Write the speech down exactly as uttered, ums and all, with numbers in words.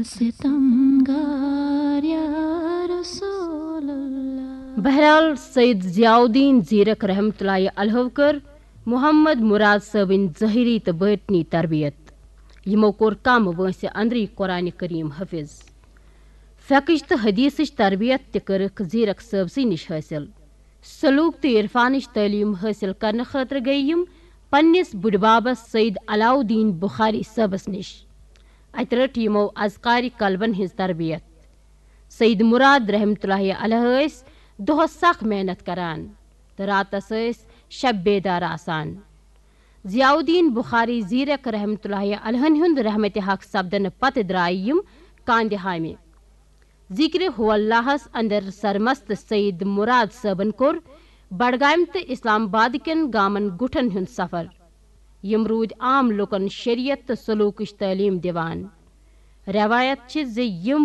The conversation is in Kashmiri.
ستمگار یا رسول اللہ۔ بہرحال، سید ضیاء الدین زیرک رحمتہ اللہ علیہ کٔر محمد مراد صٲبٕنۍ ظٲہری تہٕ باطنی تربیت۔ یِمو کوٚر کم وٲنٛسہِ اندرٕے قرآن کریم حٲفظ۔ فقہٕچ تہٕ حدیثٕچ تربیت تہِ کٔرٕکھ زیرک صٲبسٕے نِش حٲصِل۔ سلوک تہٕ عرفانٕچ تعلیٖم حٲصِل کرنہٕ خٲطرٕ گٔیہِ یِم پننِس بُڈبابس سید علاؤالدین بخاری صٲبس نِش۔ اتہِ رٔٹ یِمو اذکارِ قلبن ہٕنٛز تربیت۔ سید مراد رحمتہ اللہ علیہ ٲسۍ دۄہس سخ محنت کران تہٕ راتس ٲسۍ شب بیدار آسان۔ ضیاء الدین بخاری زیرک رحمتہ اللہ علیہ ہُنٛد رحمتِ حق سپدنہٕ پتہٕ درٛایہِ یِم کاندِ ہامہِ۔ ذکرِ ہو اللہس اندر سرمست سید مراد صٲبن کوٚر بڈگامہِ تہٕ اسلام آباد کٮ۪ن گامن گُٹھن ہُنٛد سفر۔ یِم روٗدۍ عام لوٗکن شریعت تہٕ سلوکٕچ تعلیٖم دِوان۔ رٮ۪وایت چھِ زِ یِم